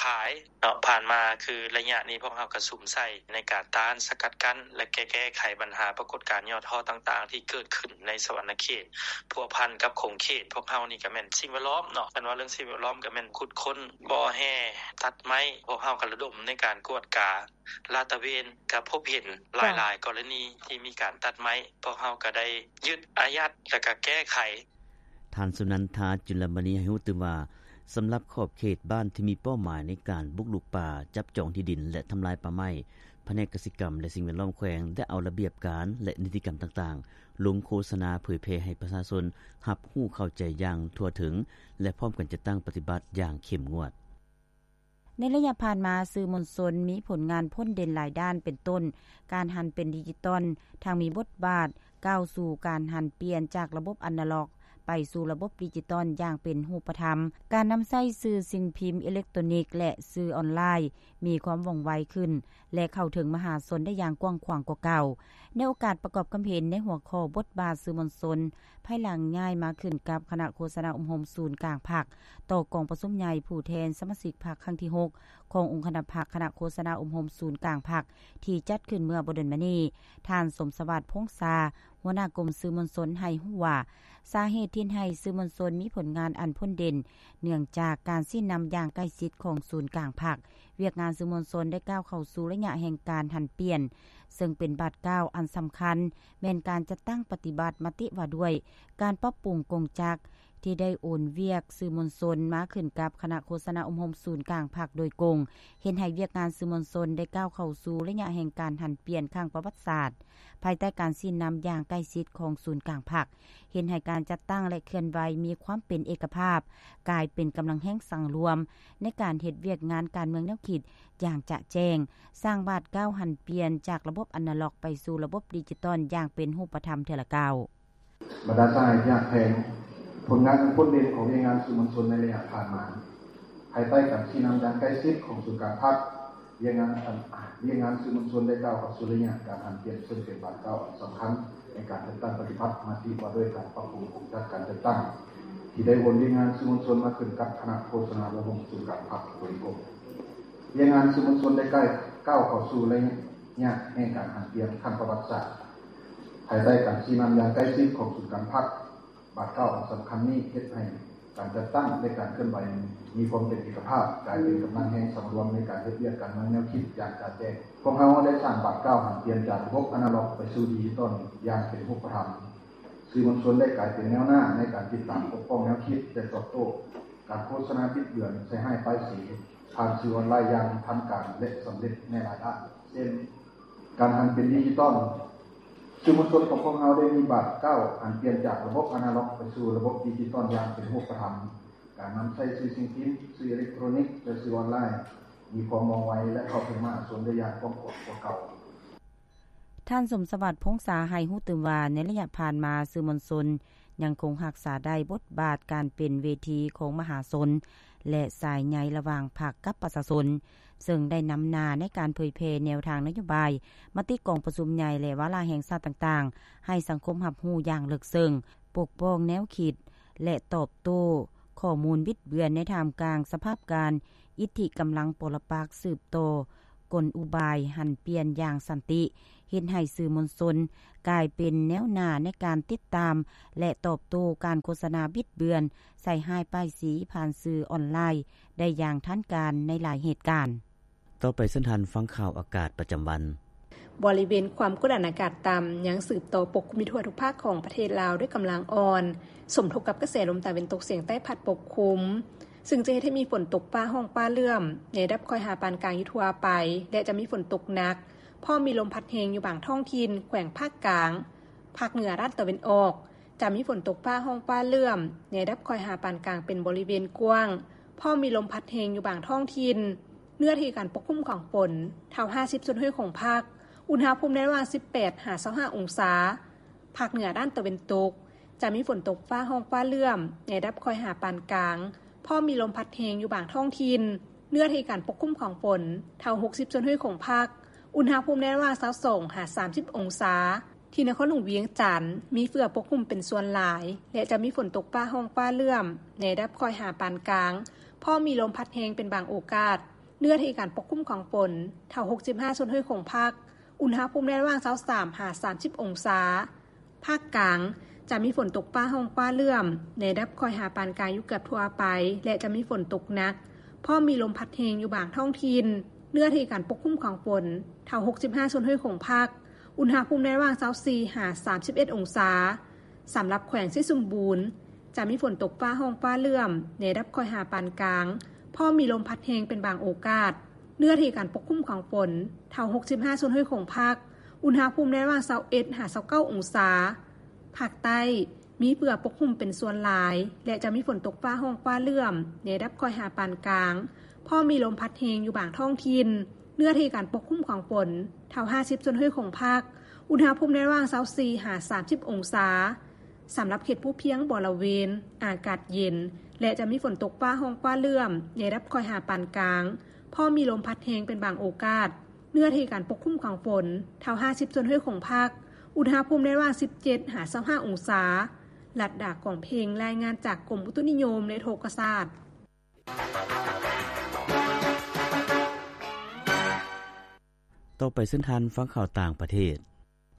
ຂາຍເນາະ. ຜ່ານມາຄືໄລຍະນີ້ ພວກເຮົາກໍສຸມໃສ່ໃນການຕ້ານສະກັດກັ້ນ ແລະ ແກ້ ແກ້ໄຂບັນຫາປາກົດການຫຍໍ້ທໍ້ຕ່າງໆ ທີ່ເກີດຂຶ້ນໃນສະຫວັນນະເຂດ ພົວພັນກັບຂົງເຂດ. ພວກເຮົານີ້ກໍແມ່ນສິ່ງແວດລ້ອມເນາະ, ຄັນວ່າເລື່ອງສິ່ງແວດລ້ອມກໍແມ່ນຂຸດຄົ້ນບໍ່ແຮ່ຕັດໄມ້. ພວກເຮົາກໍລະດົມໃນການກວດກາ ລາດຕະເວນ ກໍພົບເຫັນຫຼາຍໆກໍລະນີທີ່ມີການຕັດໄມ້, ພວກເຮົາກໍໄດ້ຍຶດອາຍັດ ແລະ ກໍແກ້ໄຂ. ທ່ານ ສຸນັນທາ ຈຸນລະມະນີ ໃຫ້ຮູ້ຕື່ມວ່າ ສຳລັບຂອບເຂດບ້ານທີ່ມີເປົ້າໝາຍໃນການບຸກລຸກປ່າ, ຈັບຈອງທີ່ດິນ ແລະ ທຳລາຍປ່າໄມ້, ພະແນກກະສິກຳ ແລະ ສິ່ງແວດລ້ອມແຂວງ ໄດ້ເອົາລະບຽບການ ແລະ ນິຕິກຳຕ່າງໆ ລົງໂຄສະນາເຜີຍແຜ່ໃຫ້ປະຊາຊົນຮັບຮູ້ເຂົ້າໃຈຢ່າງທົ່ວເຖິງ ແລະ ພ້ອມກັນຈັດຕັ້ງປະຕິບັດຢ່າງເຂັ້ມງວດ. ໃນໄລຍະຜ່ານມາ, ສື່ມວນຊົນມີຜົນງານພົ້ນເດັ່ນຫຼາຍດ້ານ ເປັນຕົ້ນ ການຫັນເປັນດິຈິຕອນ ທັງມີບົດບາດກ້າວສູ່ການຫັນປ່ຽນຈາກລະບົບອານາລັອກໄປສູ່ລະບົບດິຈິຕອນຢ່າງເປັນຮູບປະທຳ, ການນຳໃຊ້ສື່ສິ່ງພິມເອເລັກໂຕຣນິກ ແລະ ສື່ອອນລາຍ ມີຄວາມວ່ອງໄວຂຶ້ນ ແລະ ເຂົ້າເຖິງມະຫາຊົນໄດ້ຢ່າງກວ້າງຂວາງກວ່າເກົ່າ. ໃນໂອກາດປະກອບຄຳເຫັນໃນຫົວຂໍ້ບົດບາດສື່ມວນຊົນ ພາຍຫຼັງຍ້າຍມາຂຶ້ນກັບຄະນະໂຄສະນາອົບຮົມສູນກາງພັກ ຕໍ່ກອງປະຊຸມໃຫຍ່ຜູ້ແທນສະມາຊິກພັກຄັ້ງທີຫົກ ຂອງອົງຄະນະພັກຄະນະໂຄສະນາອົບຮົມສູນກາງພັກ ທີ່ຈັດຂຶ້ນເມື່ອບໍ່ດົນມານີ້, ທ່ານ ສົມສະຫວັດ ພົງສາ ຫົວໜ້າກົມສື່ມວນຊົນໃຫ້ຮູ້ວ່າ ສາເຫດທີ່ເຮັດໃຫ້ສື່ມວນຊົນມີຜົນງານອັນພົ້ນເດັ່ນ ເນື່ອງຈາກການຊີ້ນຳຢ່າງໃກ້ຊິດຂອງສູນກາງພັກ, ວຽກງານສື່ມວນຊົນໄດ້ກ້າວເຂົ້າສູ່ໄລຍະແຫ່ງການຫັນປ່ຽນ, ເຊິ່ງເປັນບາດກ້າວອັນສຳຄັນ ແມ່ນການຈັດຕັ້ງປະຕິບັດມະຕິວ່າດ້ວຍການປັບປຸງກົງຈັກ ທີ່ໄດ້ໂອນວຽກສື່ມວນຊົນມາຂຶ້ນກັບຄະນະໂຄສະນາອົບຮົມສູນກາງພັກໂດຍກົງ, ເຮັດໃຫ້ວຽກງານສື່ມວນຊົນໄດ້ກ້າວເຂົ້າສູ່ໄລຍະແຫ່ງການຫັນປ່ຽນຄັ້ງປະຫວັດສາດ. ພາຍໃຕ້ການຊີ້ນຳຢ່າງໃກ້ຊິດຂອງສູນກາງພັກ, ເຮັດໃຫ້ການຈັດຕັ້ງ ແລະ ເຄື່ອນໄຫວມີຄວາມເປັນເອກະພາບ, ກາຍເປັນກຳລັງແຮງສັງລວມໃນການເຮັດວຽກງານການເມືອງແນວຄິດຢ່າງຈະແຈ້ງ, ສ້າງບາດກ້າວຫັນປ່ຽນຈາກລະບົບອານາລັອກໄປສູ່ລະບົບດິຈິຕອນຢ່າງເປັນຮູບປະທຳເທື່ອລະກ້າວ. ບັນດາສະຫາຍທີ່ຮັກແພງ, ຜົນງານອັນໂດດເດັ່ນຂອງວຽກງານສື່ມວນຊົນໃນໄລຍະຜ່ານມາ, ພາຍໃຕ້ການຊີ້ນຳຢ່າງໃກ້ຊິດຂອງສູນກາງພັກ, ວຽກງານອັນ, ວຽກງານສື່ມວນຊົນໄດ້ກ້າວເຂົ້າສູ່ໄລຍະການຫັນປ່ຽນ, ເຊິ່ງເປັນບາດກ້າວອັນສຳຄັນໃນການຈັດຕັ້ງປະຕິບັດມະຕິວ່າດ້ວຍການປັບປຸງໂຄງຈັກການຈັດຕັ້ງ ທີ່ໄດ້ໂອນວຽກງານສື່ມວນຊົນມາຂຶ້ນກັບຄະນະໂຄສະນາອົບຮົມສູນກາງພັກໂດຍກົງ. ວຽກງານສື່ມວນຊົນໄດ້ກ້າວເຂົ້າສູ່ໄລຍະແຫ່ງການຫັນປ່ຽນຄັ້ງປະຫວັດສາດ. ພາຍໃຕ້ການຊີ້ນຳຢ່າງໃກ້ຊິດຂອງສູນກາງພັກ, ບາດກ້າວອັນສຳຄັນນີ້ເຮັດໃຫ້ການຈັດຕັ້ງ ແລະ ການເຄື່ອນໄຫວມີຄວາມເປັນເອກະພາບ, ກາຍເປັນກຳລັງແຮງສັງລວມໃນການເຮັດວຽກການເມືອງແນວຄິດຢ່າງຈະແຈ້ງ. ພວກເຮົາໄດ້ສ້າງບາດກ້າວຫັນປ່ຽນຈາກລະບົບອານາລັອກໄປສູ່ດິຈິຕອນຢ່າງເປັນຮູບປະທຳ. ສື່ມວນຊົນໄດ້ກາຍເປັນແນວໜ້າໃນການຕິດຕາມປົກປ້ອງແນວຄິດ ແລະ ຕອບໂຕ້ການໂຄສະນາບິດເບືອນໃສ່ຮ້າຍປ້າຍສີ ຜ່ານສື່ອອນລາຍຢ່າງທັນການ ແລະ ສຳເລັດໃນຫຼາຍດ້ານ ເຊັ່ນ ການຫັນເປັນດິຈິຕອນ. ສື່ມວນຊົນຂອງພວກເຮົາໄດ້ມີບາດກ້າວຫັນປ່ຽນຈາກລະບົບອານາລັອກໄປສູ່ລະບົບດິຈິຕອນຢ່າງເປັນຮູບປະທຳ, ການນຳໃຊ້ສື່ສິ່ງພິມ, ສື່ເອເລັກໂຕຣນິກ ແລະ ສື່ອອນລາຍ ມີຄວາມວ່ອງໄວ ແລະ ເຂົ້າເຖິງມະຫາຊົນໄດ້ຢ່າງກວ້າງຂວາງກວ່າເກົ່າ. ທ່ານ ສົມສະຫວັດ ພົງສາ ໃຫ້ຮູ້ຕື່ມວ່າ ໃນໄລຍະຜ່ານມາ ສື່ມວນຊົນຍັງຄົງຮັກສາໄດ້ບົດບາດການເປັນເວທີຂອງມະຫາຊົນ ແລະ ສາຍໃຍລະຫວ່າງພັກກັບປະຊາຊົນ, ເຊິ່ງໄດ້ນຳໜ້າໃນການເຜີຍແຜ່ແນວທາງນະໂຍບາຍ, ມະຕິກອງປະຊຸມໃຫຍ່ ແລະ ວາລະແຫ່ງຊາດຕ່າງໆ ໃຫ້ສັງຄົມຮັບຮູ້ຢ່າງເລິກເຊິ່ງ, ປົກປ້ອງແນວຄິດ ແລະ ຕອບໂຕ້ ຂໍ້ມູນບິດເບືອນໃນທ່າມກາງສະພາບການອິດທິກຳລັງປໍລະປັກສືບຕໍ່ກົນອຸບາຍຫັນປ່ຽນຢ່າງສັນຕິ ເຮັດໃຫ້ສື່ມວນຊົນກາຍເປັນແນວໜ້າໃນການຕິດຕາມ ແລະ ຕອບໂຕ້ການໂຄສະນາບິດເບືອນ ໃສ່ຮ້າຍປ້າຍສີຜ່ານສື່ອອນລາຍໄດ້ຢ່າງທັນການໃນຫຼາຍເຫດການ. ຕໍ່ໄປເຊີນທ່ານຟັງຂ່າວອາກາດປະຈຳວັນ. ບໍລິເວນຄວາມກົດອາກາດຕ່ຳຍັງສືບຕໍ່ປົກຄຸມຢູ່ທົ່ວທຸກພາກຂອງປະເທດລາວດ້ວຍກຳລັງອ່ອນ ສົມທົບກັບກະແສລົມຕາເວັນຕົກສຽງໃຕ້ພັດປົກຄຸມ, ຊຶ່ງຈະເຮັດໃຫ້ມີຝົນຕົກຟ້າຮ້ອງຟ້າເຫຼື້ອມໃນລະດັບຄ່ອຍຫາປານກາງຢູ່ທົ່ວໄປ ແລະ ຈະມີຝົນຕົກໜັກ ພ້ອມມີລົມພັດແຮງຢູ່ບາງທ້ອງຖິ່ນແຂວງພາກກາງ, ພາກເໜືອດ້ານຕາເວັນອອກ ຈະມີຝົນຕົກຟ້າຮ້ອງຟ້າເຫຼື້ອມໃນລະດັບຄ່ອຍຫາປານກາງເປັນບໍລິເວນກວ້າງ, ພ້ອມມີລົມພັດແຮງຢູ່ບາງທ້ອງຖິ່ນ. ເນື້ອທີ່ການປົກຄຸມຂອງຝົນ ເທົ່າຫ້າສິບສ່ວນຮ້ອຍຂອງພາກ, ອຸນຫະພູມໃນລະຫວ່າງສິບແປດຫາຊາວຫ້າອົງສາ. ພາກເໜືອດ້ານຕາເວັນຕົກ ຈະມີຝົນຕົກຟ້າຮ້ອງຟ້າເຫຼື້ອມໃນລະດັບຄ່ອຍຫາປານກາງ, ພ້ອມມີລົມພັດແຮງຢູ່ບາງທ້ອງຖິ່ນ. ເນື້ອທີ່ການປົກຄຸມຂອງຝົນ ເທົ່າຫົກສິບສ່ວນຮ້ອຍຂອງພາກ, ອຸນຫະພູມໃນລະຫວ່າງຊາວສອງຫາສາມສິບອົງສາ. ທີ່ນະຄອນຫຼວງວຽງຈັນ ມີເຝືອປົກຄຸມເປັນສ່ວນຫຼາຍ ແລະ ຈະມີຝົນຕົກຟ້າຮ້ອງຟ້າເຫຼື້ອມໃນລະດັບຄ່ອຍຫາປານກາງ, ພ້ອມມີລົມພັດແຮງເປັນບາງໂອກາດ. ເນື້ອທີ່ການປົກຄຸມຂອງຝົນ ເທົ່າຫົກສິບຫ້າສ່ວນຮ້ອຍຂອງພາກ, ອຸນຫະພູມໃນລະຫວ່າງຊາວສາມຫາສາມສິບອົງສາ. ພາກກາງ ຈະມີຝົນຕົກຟ້າຮ້ອງຟ້າເຫຼື້ອມໃນລະດັບຄ່ອຍຫາປານກາງຢູ່ເກືອບທົ່ວໄປ ແລະ ຈະມີຝົນຕົກໜັກ ພ້ອມມີລົມພັດແຮງຢູ່ບາງທ້ອງຖິ່ນ. ເນື້ອທີ່ການປົກຄຸມຂອງຝົນ ເທົ່າຫົກສິບຫ້າສ່ວນຮ້ອຍຂອງພາກ, ອຸນຫະພູມໃນລະຫວ່າງຊາວສີ່ຫາສາມສິບເອັດອົງສາ. ສຳລັບແຂວງໄຊສົມບູນ ຈະມີຝົນຕົກຟ້າຮ້ອງຟ້າເຫຼື້ອມໃນລະດັບຄ່ອຍຫາປານກາງ, ພ້ອມມີລົມພັດແຮງເປັນບາງໂອກາດ. ເນື້ອທີ່ການປົກຄຸມຂອງຝົນ ເທົ່າຫົກສິບຫ້າສ່ວນຮ້ອຍຂອງພາກ, ອຸນຫະພູມໃນລະຫວ່າງຊາວເອັດຫາຊາວເກົ້າອົງສາ. ພາກໃຕ້ ມີເຝືອປົກຄຸມເປັນສ່ວນຫຼາຍ ແລະ ຈະມີຝົນຕົກຟ້າຮ້ອງຟ້າເຫຼື້ອມໃນລະດັບຄ່ອຍຫາປານກາງ, ພ້ອມມີລົມພັດແຮງຢູ່ບາງທ້ອງຖິ່ນ. ເນື້ອທີ່ການປົກຄຸມຂອງຝົນ ເທົ່າຫ້າສິບສ່ວນຮ້ອຍຂອງພາກ, ອຸນຫະພູມໃນລະຫວ່າງຊາວສີ່ຫາສາມສິບອົງສາ. ສຳລັບເຂດພູພຽງບໍລະເວນ ອາກາດເຢັນ ແລະ ຈະມີຝົນຕົກຟ້າຮ້ອງຟ້າເຫຼື້ອມໃນລະດັບຄ່ອຍຫາປານກາງ, ພ້ອມມີລົມພັດແຮງເປັນບາງໂອກາດ. ເນື້ອທີ່ການປົກຄຸມຂອງຝົນ ເທົ່າຫ້າສິບສ່ວນຮ້ອຍຂອງພາກ, ອຸນຫະພູມໃນລະຫວ່າງສິບເຈັດຫາຊາວຫ້າອົງສາ. ລັດດາ ກອງເພັງ ລາຍງານຈາກກົມອຸຕຸນິຍົມ ແລະ ອຸທົກກະສາດ. ຕໍ່ໄປເຊີນທ່ານຟັງຂ່າວຕ່າງປະເທດ.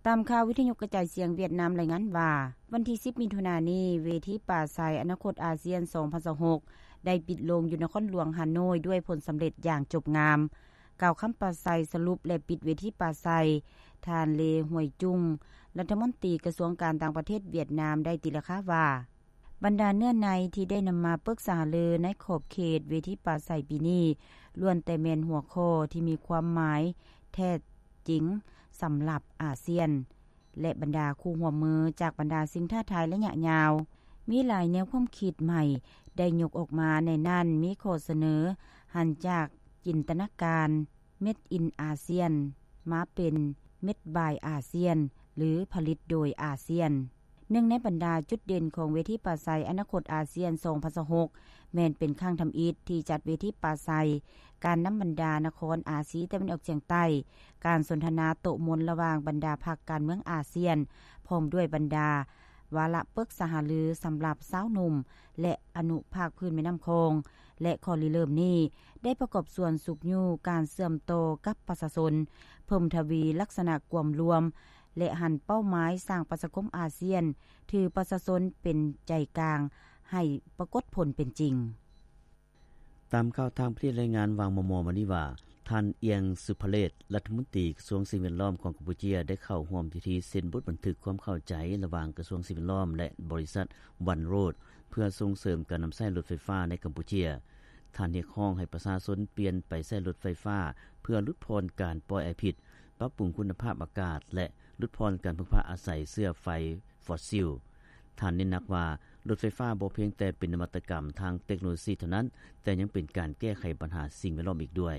ຕາມຂ່າວວິທະຍຸກະຈາຍສຽງຫວຽດນາມລາຍງານວ່າ, ວັນທີສິບ ມິຖຸນານີ້, ເວທີປາໄສອະນາຄົດອາຊຽນ ສອງພັນຊາວຫົກ ໄດ້ປິດລົງຢູ່ນະຄອນຫຼວງຮາໂນ້ຍດ້ວຍຜົນສຳເລັດຢ່າງຈົບງາມ. ກ່າວຄຳປາໄສສະຫຼຸບ ແລະ ປິດເວທີປາໄສ, ທ່ານ ເລ ຫວຍຈຸງ ລັດຖະມົນຕີກະຊວງການຕ່າງປະເທດຫວຽດນາມ ໄດ້ຕີລາຄາວ່າ, ບັນດາເນື້ອໃນທີ່ໄດ້ນຳມາປຶກສາຫາລືໃນຂອບເຂດເວທີປາໄສປີນີ້ ລ້ວນແຕ່ແມ່ນຫົວຂໍ້ທີ່ມີຄວາມໝາຍແທ້ຈິງສຳລັບອາຊຽນ ແລະ ບັນດາຄູ່ຮ່ວມມືຈາກບັນດາສິ່ງທ້າທາຍໄລຍະຍາວ. ມີຫຼາຍແນວຄວາມຄິດໃໝ່ໄດ້ຍົກອອກມາ, ໃນນັ້ນມີຂໍ້ສະເໜີຫັນຈາກຈິນຕະນາການ Made in ASEAN ມາເປັນ Made by ASEAN ຫຼື ຜະລິດໂດຍອາຊຽນ. ໜຶ່ງໃນບັນດາຈຸດເດັ່ນຂອງເວທີປາໄສອະນາຄົດອາຊຽນ ສອງພັນຊາວຫົກ ແມ່ນເປັນຄັ້ງທຳອິດທີ່ຈັດເວທີປາໄສ ການນຳບັນດານະຄອນອາຊີຕາເວັນອອກສຽງໃຕ້, ການສົນທະນາໂຕະມົນລະຫວ່າງບັນດາພັກການເມືອງອາຊຽນ, ພ້ອມດ້ວຍບັນດາວາລະປຶກສາຫາລືສຳລັບຊາວໜຸ່ມ ແລະ ອະນຸພາກພື້ນແມ່ນ້ຳຂອງ ແລະ ຂໍ້ລິເລີ່ມນີ້ໄດ້ປະກອບສ່ວນຊຸກຍູ້ການເຊື່ອມຕໍ່ກັບປະຊາຊົນ, ເພີ່ມທະວີລັກສະນະກວມລວມ ແລະ ຫັນເປົ້າໝາຍສ້າງປະຊາຄົມອາຊຽນ ຖືປະຊາຊົນເປັນໃຈກາງໃຫ້ປາກົດຜົນເປັນຈິງ. ຕາມຂ່າວຕ່າງປະເທດລາຍງານວ່າງມໍ່ໆມານີ້ວ່າ, ທ່ານ ອຽງ ສຸພະເລດ ລັດຖະມົນຕີກະຊວງສິ່ງແວດລ້ອມຂອງກຳປູເຈຍ ໄດ້ເຂົ້າຮ່ວມພິທີເຊັນບົດບັນທຶກຄວາມເຂົ້າໃຈລະຫວ່າງກະຊວງສິ່ງແວດລ້ອມ ແລະ ບໍລິສັດ ວັນໂຣດ ເພື່ອສົ່ງເສີມການນຳໃຊ້ລົດໄຟຟ້າໃນກຳປູເຈຍ. ທ່ານຮຽກຮ້ອງໃຫ້ປະຊາຊົນປ່ຽນໄປໃຊ້ລົດໄຟຟ້າ ເພື່ອຫຼຸດຜ່ອນການປ່ອຍອາຍພິດ, ປັບປຸງຄຸນນະພາບອາກາດ ແລະ ຫຼຸດຜ່ອນການເພິ່ງພາອາໄສເຊື້ອໄຟຟອດຊິລ. ທ່ານເນັ້ນໜັກວ່າ, ລົດໄຟຟ້າບໍ່ພຽງແຕ່ເປັນນະວັດຕະກຳທາງເຕັກໂນໂລຊີເທົ່ານັ້ນ, ແຕ່ຍັງເປັນການແກ້ໄຂບັນຫາສິ່ງແວດລ້ອມອີກດ້ວຍ.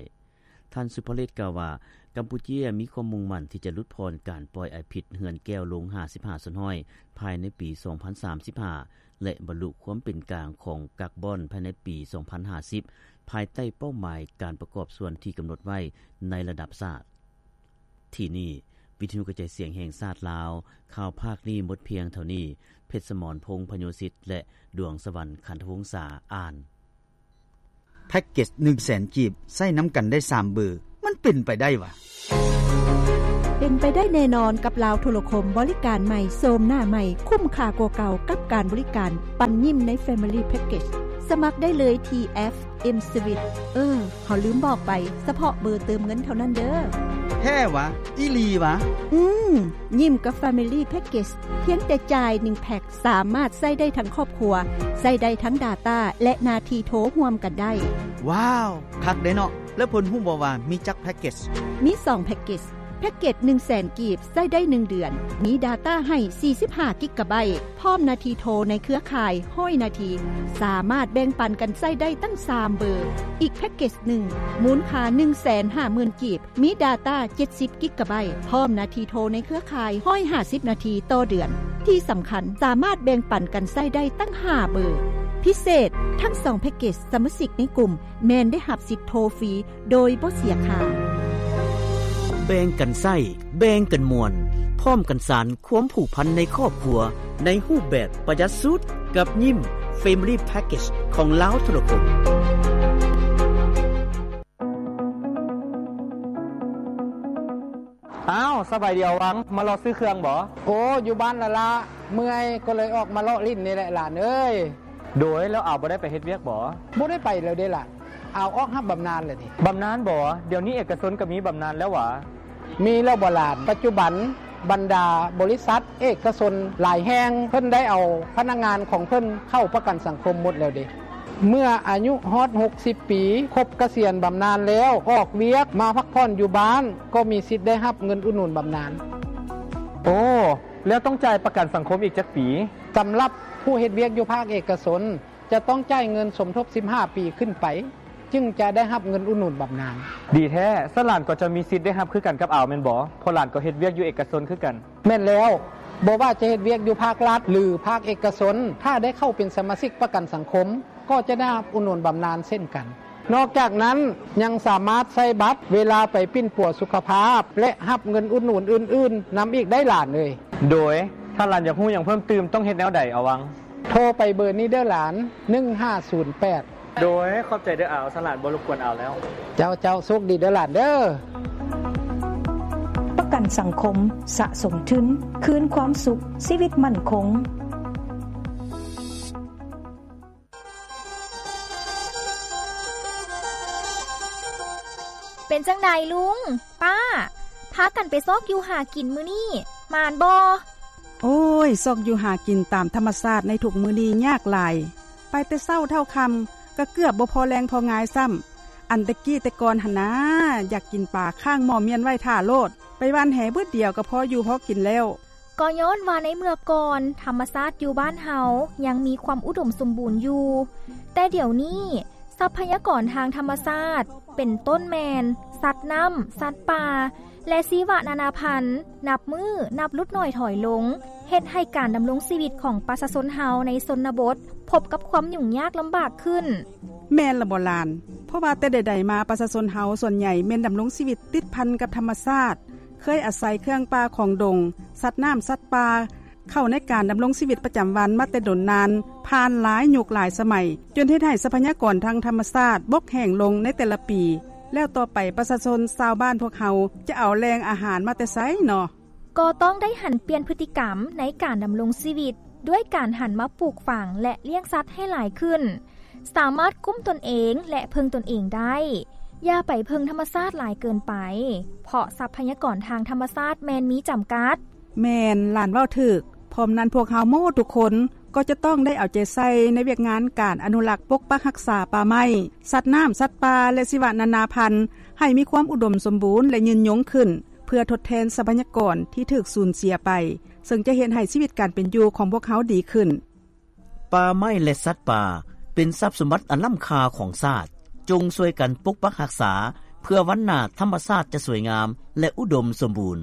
ທ່ານ ສຸພະເລດ ກ່າວວ່າ, ກຳປູເຈຍມີຄວາມມຸ່ງໝັ້ນທີ່ຈະຫຼຸດຜ່ອນການປ່ອຍອາຍພິດເຮືອນແກ້ວລົງຫ້າສິບຫ້າສ່ວນຮ້ອຍ ພາຍໃນປີສອງພັນສາມສິບຫ້າ ແລະ ບັນລຸຄວາມເປັນກາງຂອງກາກບອນພາຍໃນປີສອງພັນຫ້າສິບ ພາຍໃຕ້ເປົ້າໝາຍການປະກອບສ່ວນທີ່ກຳນົດໄວ້ໃນລະດັບຊາດ. ທີ່ນີ້, ປ ວິທະຍຸກະຈາຍສຽງແຫ່ງຊາດລາວ. ຂ່າວພາກນີ້ໝົດພຽງເທົ່ານີ້. ເພັດສະໝອນ ພົງພະໂຍສິດ ແລະ ດວງສະຫວັນ ຂັນທະວົງສາ ອ່ານ. ແພັກເກັດໜຶ່ງແສນກີບ ໃຊ້ນຳກັນໄດ້ສາມເບີ ມັນເປັນໄປໄດ້ຫວາ? ເປັນໄປໄດ້ແນ່ນອນກັບລາວໂທລະຄົມ ບໍລິການໃໝ່ ໂສມໜ້າໃໝ່ ຄຸ້ມຄ່າກວ່າເກົ່າກັບການບໍລິການປັນຍິ້ມໃນ Family Package. ສະໝັກໄດ້ເລີຍທີ່ແອັບ M-Swiss. ເອີ ເຮົາລືມບອກໄປ, ສະເພາະເບີເຕີມເງິນເທົ່ານັ້ນເດີ້. ແທ້ຫວາ? ອີ່ຫຼີຫວາ? ອືມ, ຍິ້ມກັບ Family Package ພຽງແຕ່ຈ່າຍໜຶ່ງແພັກ ສາມາດໃຊ້ໄດ້ທັງຄອບຄົວ, ໃຊ້ໄດ້ທັງ data ແລະ ໜ້າທີ່ໂທຮ່ວມກັນໄດ້. ວ້າວ, ຄັກເດ້ເນາະ. ແລ້ວເພິ່ນຮູ້ບໍ່ວ່າມີຈັກແພັກເກັດ? ມີສອງແພັກເກັດ. ແພັກເກັດໜຶ່ງແສນກີບ ໃຊ້ໄດ້ໜຶ່ງເດືອນ, ມີ data ໃຫ້ສີ່ສິບຫ້າກິກກະໄບ, ພ້ອມໜ້າທີ່ໂທໃນເຄືອຂ່າຍຮ້ອຍນາທີ, ສາມາດແບ່ງປັນກັນໃຊ້ໄດ້ຕັ້ງສາມເບີ. ອີກແພັກເກັດໜຶ່ງ ມູນຄ່າໜຶ່ງແສນຫ້າໝື່ນກີບ, ມີ data ເຈັດສິບກິກກະໄບ, ພ້ອມໜ້າທີ່ໂທໃນເຄືອຂ່າຍຮ້ອຍຫ້າສິບນາທີຕໍ່ເດືອນ. ທີ່ສຳຄັນ, ສາມາດແບ່ງປັນກັນໃຊ້ໄດ້ຕັ້ງຫ້າເບີ. ພິເສດ, ທັງສອງແພັກເກັດ ສະມາຊິກໃນກຸ່ມແມ່ນໄດ້ຮັບສິດໂທຟຣີໂດຍບໍ່ເສຍຄ່າ. ແບ່ງກັນໃຊ້, ແບ່ງກັນມ່ວນ, ພ້ອມກັນສານຄວາມຜູກພັນໃນຄອບຄົວ ໃນຮູບແບບປະຢັດສຸດ ກັບຍິ້ມ Family Package ຂອງລາວໂທລະຄົມ. ອ້າວ, ສະບາຍດີອາວັງ, ມາເລາະຊື້ເຄື່ອງບໍ? ໂອ້, ຢູ່ບ້ານລະລະ, ເມື່ອຍ, ກໍເລີຍອອກມາເລາະຫຼິ້ນນີ້ແຫຼະຫຼານເອີຍ. ໂດຍ, ແລ້ວອາວບໍ່ໄດ້ໄປເຮັດວຽກບໍ? ບໍ່ໄດ້ໄປແລ້ວເດ້ລະ, ອາວອອກຮັບບຳນານແລ້ວເດ້. ບຳນານບໍ? ດຽວນີ້ເອກະຊົນກໍມີບຳນານແລ້ວຫວາ? ມີແລ້ວບໍຫຼານ, ປັດຈຸບັນບັນດາບໍລິສັດເອກະຊົນຫຼາຍແຫ່ງ ເພິ່ນໄດ້ເອົາພະນັກງານຂອງເພິ່ນເຂົ້າປະກັນສັງຄົມໝົດແລ້ວເດ້. ເມື່ອອາຍຸຮອດຫົກສິບປີ, ຄົບກະສຽນບຳນານແລ້ວ, ອອກວຽກມາພັກຜ່ອນຢູ່ບ້ານ, ກໍມີສິດໄດ້ຮັບເງິນອຸດໜູນບຳນານ. ໂອ້, ແລ້ວຕ້ອງຈ່າຍປະກັນສັງຄົມອີກຈັກປີ? ສຳລັບຜູ້ເຮັດວຽກຢູ່ພາກເອກະຊົນ, ຈະຕ້ອງຈ່າຍເງິນສົມທົບສິບຫ້າປີຂຶ້ນໄປ, ຈຶ່ງຈະໄດ້ຮັບເງິນອຸດໜູນບຳນານ. ດີແທ້, ຊັ້ນຫຼານກໍຈະມີສິດໄດ້ຮັບຄືກັນກັບອາວແມ່ນບໍ? ເພາະຫຼານກໍເຮັດວຽກຢູ່ເອກະຊົນຄືກັນ. ແມ່ນແລ້ວ, ບໍ່ວ່າຈະເຮັດວຽກຢູ່ພາກລັດ ຫຼື ພາກເອກະຊົນ, ຖ້າໄດ້ເຂົ້າເປັນສະມາຊິກປະກັນສັງຄົມ, ກໍຈະໄດ້ຮັບອຸດໜູນບຳນານເຊັ່ນກັນ. ນອກຈາກນັ້ນ, ຍັງສາມາດໃຊ້ບັດເວລາໄປປິ່ນປົວສຸຂະພາບ ແລະ ຮັບເງິນອຸດໜູນອື່ນໆນຳອີກໄດ້ຫຼານເອີຍ. ໂດຍ, ຖ້າຫຼານຢາກຮູ້ຫຍັງເພີ່ມຕື່ມ, ຕ້ອງເຮັດແນວໃດອາວັງ? ໂທໄປເບີນີ້ເດີ້ຫຼານ, ໜຶ່ງຫ້າສູນແປດ. ໂດຍ, ຂອບໃຈເດີ້ອາວ, ສະຫຼານບໍ່ລົບກວນອາວແລ້ວ. ເຈົ້າ, ເຈົ້າ, ໂຊກດີເດີ້ຫຼານເດີ້. ປະກັນສັງຄົມ, ສະສົມທຶນ, ຄືນຄວາມສຸກ, ຊີວິດໝັ້ນຄົງ. ເປັນຈັ່ງໃດລຸງ, ປ້າ, ພາກັນໄປຊອກຢູ່ຫາກິນມື້ນີ້, ໝານບໍ່? ໂອ້ຍ, ຊອກຢູ່ຫາກິນຕາມທຳມະຊາດໃນທຸກມື້ນີ້ຍາກຫຼາຍ. ໄປແຕ່ເຊົ້າເທົ່າຄ່ຳ, ກໍເກືອບບໍ່ພໍແລງພໍງາຍຊ້ຳ. ອັນແຕ່ກີ້ແຕ່ກ່ອນຫັ້ນນາ, ຢາກກິນປາຄ້າງໝໍ້ມ້ຽນໄວ້ຖ້າໂລດ, ໄປຫວ່ານແຫບຶດດຽວກໍພໍຢູ່ພໍກິນແລ້ວ. ກໍຍ້ອນວ່າໃນເມື່ອກ່ອນ ທຳມະຊາດຢູ່ບ້ານເຮົາຍັງມີຄວາມອຸດົມສົມບູນຢູ່, ແຕ່ດຽວນີ້ ຊັບພະຍາກອນທາງທຳມະຊາດ ເປັນຕົ້ນແມ່ນ ສັດນ້ຳ, ສັດປ່າ ແລະ ຊີວະນານາພັນ ນັບມື້ນັບຫຼຸດໜ້ອຍຖອຍລົງ, ເຮັດໃຫ້ການດຳລົງຊີວິດຂອງປະຊາຊົນເຮົາໃນຊົນນະບົດ ພົບກັບຄວາມຫຍຸ້ງຍາກລຳບາກຂຶ້ນ. ແມ່ນລະບໍຫຼານ, ເພາະວ່າແຕ່ໃດໆມາ ປະຊາຊົນເຮົາສ່ວນໃຫຍ່ແມ່ນດຳລົງຊີວິດຕິດພັນກັບທຳມະຊາດ, ເຄີຍອາໄສເຄື່ອງປ່າຂອງດົງ, ສັດນ້ຳ, ສັດປ່າ ເຂົ້າໃນການດຳລົງຊີວິດປະຈຳວັນມາແຕ່ດົນນານ, ຜ່ານຫຼາຍຍຸກຫຼາຍສະໄໝ, ຈົນເຮັດໃຫ້ຊັບພະຍາກອນທາງທຳມະຊາດບົກແຫ້ງລົງໃນແຕ່ລະປີ. ແລ້ວຕໍ່ໄປປະຊາຊົນຊາວບ້ານພວກເຮົາຈະເອົາແຫຼ່ງອາຫານມາແຕ່ໃສເນາະ? ກໍຕ້ອງໄດ້ຫັນປ່ຽນພຶດຕິກຳໃນການດຳລົງຊີວິດ ດ້ວຍການຫັນມາປູກຝັງ ແລະ ລ້ຽງສັດໃຫ້ຫຼາຍຂຶ້ນ, ສາມາດກຸ້ມຕົນເອງ ແລະ ເພິ່ງຕົນເອງໄດ້. ຢ່າໄປເພິ່ງທຳມະຊາດຫຼາຍເກີນໄປ, ເພາະຊັບພະຍາກອນທາງທຳມະຊາດແມ່ນມີຈຳກັດ. ແມ່ນ, ຫຼານເວົ້າຖືກ. ພ້ອມນັ້ນ, ພວກເຮົາໝົດທຸກຄົນກໍຈະຕ້ອງໄດ້ເອົາໃຈໃສ່ໃນວຽກງານການອະນຸລັກປົກປັກຮັກສາປ່າໄມ້, ສັດນ້ຳ, ສັດປ່າ ແລະ ຊີວະນານາພັນ ໃຫ້ມີຄວາມອຸດົມສົມບູນ ແລະ ຍືນຍົງຂຶ້ນ, ເພື່ອທົດແທນຊັບພະຍາກອນທີ່ຖືກສູນເສຍໄປ, ເຊິ່ງຈະເຮັດໃຫ້ຊີວິດການເປັນຢູ່ຂອງພວກເຮົາດີຂຶ້ນ. ປ່າໄມ້ ແລະ ສັດປ່າ ເປັນຊັບສົມບັດອັນລ້ຳຄ່າຂອງຊາດ. ຈົ່ງຊ່ວຍກັນປົກປັກຮັກສາ ເພື່ອວັນໜ້າທຳມະຊາດຈະສວຍງາມ ແລະ ອຸດົມສົມບູນ.